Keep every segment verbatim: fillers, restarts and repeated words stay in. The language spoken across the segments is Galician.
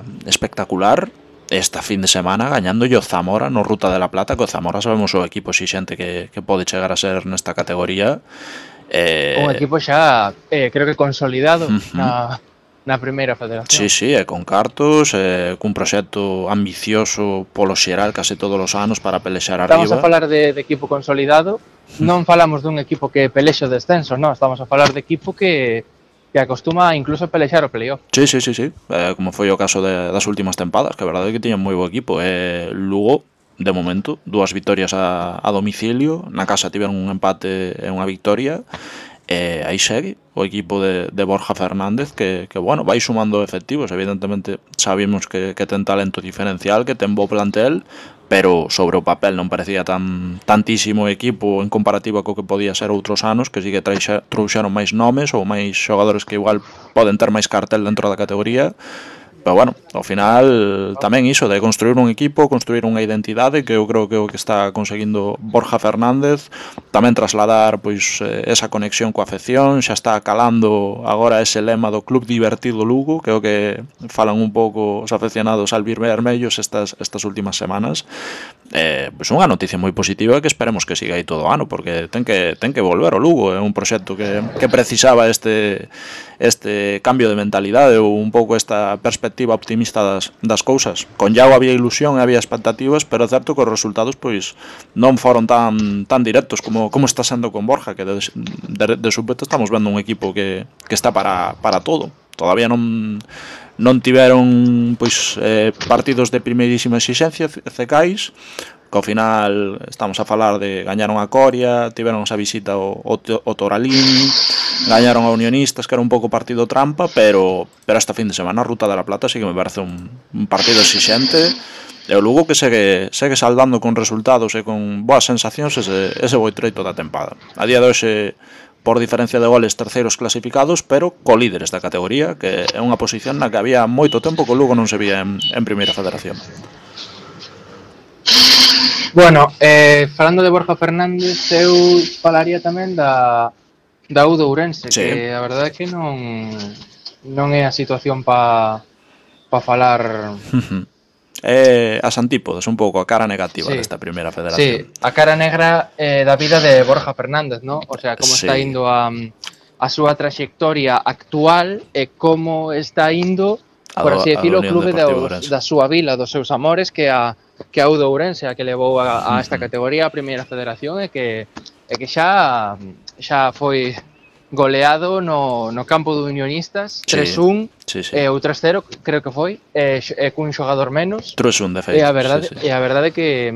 tempada espectacular. Esta fin de semana gañando o Zamora no Ruta de la Plata, que o Zamora sabemos o equipo exixente que, que pode chegar a ser nesta categoría. Eh... Un equipo xa, eh, creo que consolidado uh-huh. na, na primeira federación. Sí, sí, e con cartos, e cun proxecto ambicioso polo xeral case todos os anos para pelexar arriba. Estamos a falar de, de equipo consolidado, non falamos dun equipo que pelexe o descenso, non, estamos a falar de equipo que que acostuma incluso a pelexar o playoff. Sí, sí, sí, sí. Eh, como foi o caso de, das últimas tempadas, que a verdade é que tiñan moi bo equipo. Eh, Lugo, de momento, dúas vitorias a, a domicilio, na casa tiveron un empate e unha victoria, e aí segue o equipo de, de Borja Fernández, que, que bueno, vai sumando efectivos. Evidentemente sabemos que, que ten talento diferencial, que ten bo plantel, pero sobre o papel non parecía tan tantísimo equipo en comparativa co que podía ser outros anos, que sí que traixa, trouxeron máis nomes ou máis xogadores que igual poden ter máis cartel dentro da categoría. Pero bueno, ao final tamén iso de construir un equipo, construir unha identidade, que eu creo que é o que está conseguindo Borja Fernández, tamén trasladar pois esa conexión coa afección, xa está calando agora ese lema do Club Divertido Lugo, que é o que falan un pouco os afeccionados albirvermellos estas estas últimas semanas. Eh, pois unha noticia moi positiva que esperemos que siga aí todo o ano, porque ten que ten que volver o Lugo, é un proxecto que que precisaba este este cambio de mentalidade ou un pouco esta perspectiva optimista das, das cousas. Con Iago había ilusión e había expectativas, pero é certo que os resultados pois non foron tan tan directos como como está sendo con Borja, que de, de, de súpeto estamos vendo un equipo que, que está para, para todo. Todavía non non tiveron pois eh, partidos de primeirísima exixencia cecais, que ao final estamos a falar de gañaron a Coria, tiveron esa visita ao, ao Toralín, gañaron a Unionistas, que era un pouco partido trampa, pero pero esta fin de semana a Ruta de la Plata sí que me parece un, un partido exixente, e o Lugo que segue, segue saldando con resultados e con boas sensacións ese, ese boi treito da tempada. A día de hoxe, por diferencia de goles, terceiros clasificados, pero co-líderes da categoría, que é unha posición na que había moito tempo que o Lugo non se vía en, en Primeira Federación. Bueno, eh, falando de Borja Fernández, eu falaría tamén da, da U de Ourense, sí. Que a verdade é que non, non é a situación pa, pa falar... É as antípodas, un pouco a cara negativa sí. desta Primeira Federación. Sí, a cara negra eh, da vida de Borja Fernández, ¿no? O sea, como sí. está indo a, a súa trayectoria actual e como está indo, por así decirlo, o clube de, da súa vila, dos seus amores, que a que a U de Ourense, a que levou a, a esta categoría, a Primeira Federación, e que, e que xa, xa foi goleado no, no campo de Unionistas, sí, tres un, sí, sí. E o tres cero, creo que foi, e, e cun xogador menos. tres un, de feito. E a verdade, sí, sí. E a verdade que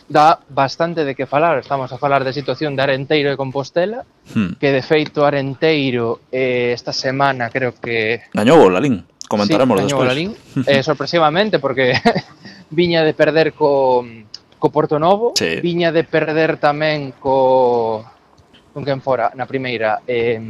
dá bastante de que falar. Estamos a falar de situación de Arenteiro e Compostela, hmm. que de feito Arenteiro eh, esta semana creo que... Gañou o Lalín, comentaremos sí, despois. Lalín, eh, sorpresivamente, porque... viña de perder co, co Porto Novo, sí. Viña de perder tamén co... con quen fora na primeira. Eh...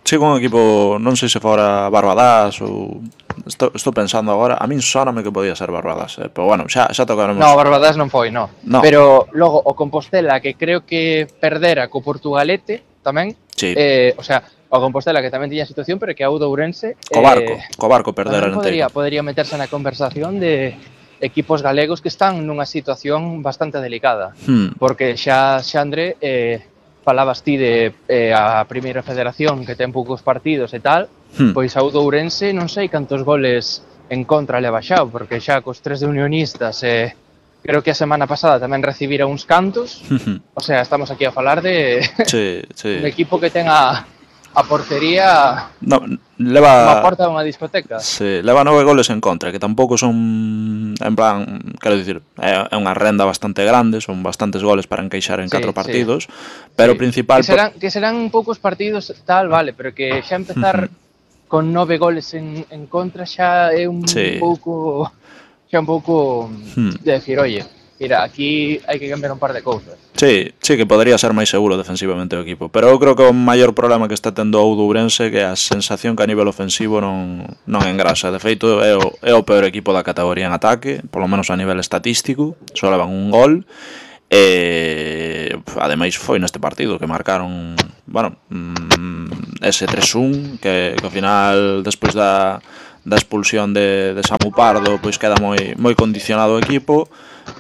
Sí, con un equipo, non sei se fora Barbadás ou... Estou, estou pensando agora, a min soname que podía ser Barbadás, eh? Pero bueno, xa, xa tocaremos... No, Barbadás non foi, no. no. Pero logo o Compostela, que creo que perdera co Portugalete tamén, sí. eh, o sea... O Compostela, que tamén tiña situación, pero que a U de Ourense... Co barco, eh, co barco perder podría, podría meterse na conversación de equipos galegos que están nunha situación bastante delicada. Hmm. Porque xa, Xandre, eh, falabas ti de eh, a Primeira Federación, que ten poucos partidos e tal, hmm. pois a U de Ourense non sei cantos goles en contra le baixado, porque xa cos tres de Unionistas... Eh, creo que a semana pasada tamén recibira uns cantos. O sea, estamos aquí a falar de sí, sí. un equipo que ten a... a portería no, leva unha porta dunha discoteca. Sí, leva nove goles en contra, que tampouco son, en plan, quero dicir, é unha renda bastante grande, son bastantes goles para encaixar en sí, catro partidos, sí. Pero o sí. principal... Que serán, que serán poucos partidos tal, vale, pero que xa empezar uh-huh. con nove goles en, en contra xa é un sí. pouco, xa un pouco uh-huh. de decir, oye, mira, aquí hai que cambiar un par de cousas. Sí, sí, que podría ser máis seguro defensivamente o equipo, pero eu creo que o maior problema que está tendo o U de Ourense que a sensación que a nivel ofensivo non, non engrasa. De feito, é o, é o peor equipo da categoría en ataque, polo menos a nivel estatístico, só levan un gol, e ademais foi neste partido que marcaron, bueno, ese tres un, que, que ao final, despois da da expulsión de, de Samu Pardo, pois queda moi moi condicionado o equipo,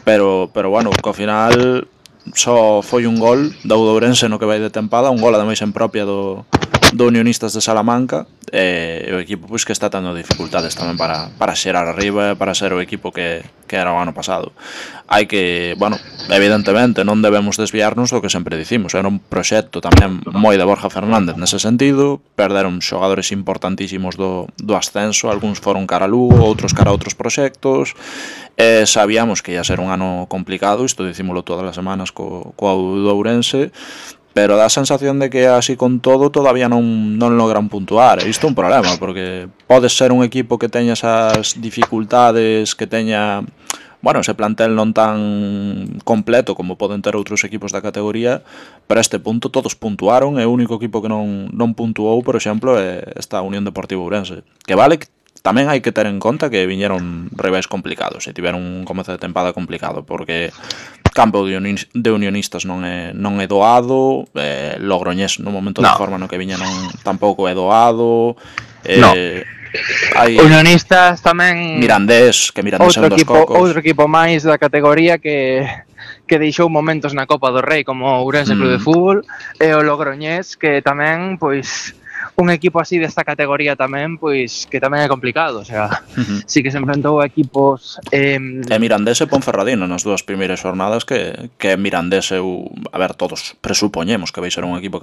pero pero bueno, que ao final só foi un gol do Ourense no que vai de tempada, un gol ademais en propia do do Unionistas de Salamanca, e o equipo pois que está tendo dificultades tamén para, para xerar arriba, para ser o equipo que, que era o ano pasado. Hai que, bueno, evidentemente non debemos desviarnos do que sempre dicimos, era un proxecto tamén moi de Borja Fernández nese sentido, perderon xogadores importantísimos do, do ascenso, algúns foron cara a Lugo, outros cara a outros proxectos, e sabíamos que ia ser un ano complicado, isto dicímolo todas as semanas co, co do Ourense, pero dá a sensación de que así con todo todavía non, non logran puntuar, e isto é un problema, porque podes ser un equipo que teña esas dificultades, que teña, bueno, ese plantel non tan completo como poden ter outros equipos da categoría, pero a este punto todos puntuaron, e o único equipo que non, non puntuou, por exemplo, é esta Unión Deportiva Ourense, que vale que tamén hai que ter en conta que viñeron rivais complicados e tiveron un comezo de tempada complicado, porque campo de, uni de unionistas non é, non é doado, eh, Logroñés no momento no. de forma no que viña non tampouco é doado, eh, no. Hai unionistas tamén Mirandés, que Mirandés é un dos equipo, cocos. Outro equipo máis da categoría que que deixou momentos na Copa do Rei como o Ourense mm. Club de Fútbol, e o Logroñés que tamén, pois, un equipo así desta categoría tamén, pois, que tamén é complicado, o sea, uh-huh. sí que se enfrentou a equipos... Eh... E Mirandés e Ponferradina nas dúas primeiras jornadas, que, que Mirandés eu, a ver, todos presupoñemos que vai ser un equipo que